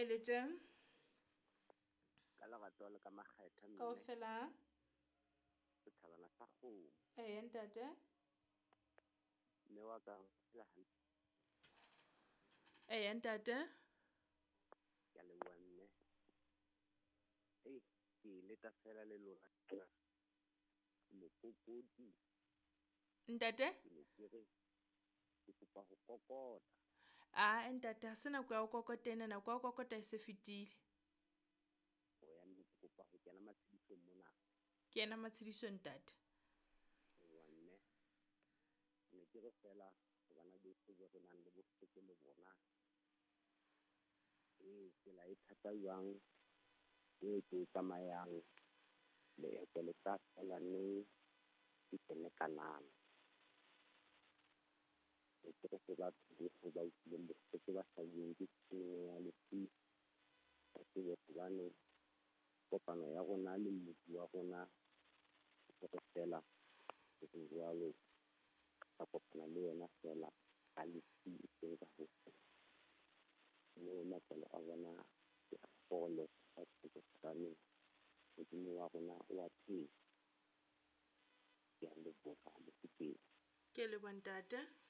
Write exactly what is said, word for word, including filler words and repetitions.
Kae le teng? Ka lerato le ka makgetha mme. Kaofela. Setjhabana sa kgomo. Eya ntate. Mme wa ka o phela hantle. Eya ntate. Ke a leboha mme. Ei, ke leta fela le lona tjena. Mokokoti. Ntate? Ke ne ke re ke kopa ho kokota. Ah ntate, ha se nako ya ho kokota ena, nako ya ho kokota e se fetile. O ya mme ke kopa ho kena matshedisong mona. Kena matshediso ntate. Ewa mme. Ne ke re fela bana beso bo re nang le bohloko le bona. Ee, tsela e thata jwang e ke e tsamayang leeto le tla fela neng ke kene Kanana. Ne ke re ho batho bohle ba utlwileng bohloko ba hlabilweng ke tshenyo ya lefu, ba tsebe hobane kopano ya rona le Mmopi wa rona ke re fela ho re jwalo ka kopana le yena fela ka lefu e seng ka ho mme matswalo a bona ke a fole hobane Modimo wa rona o a phela. Ke a leboha Mofokeng. Ke a leboha ntate.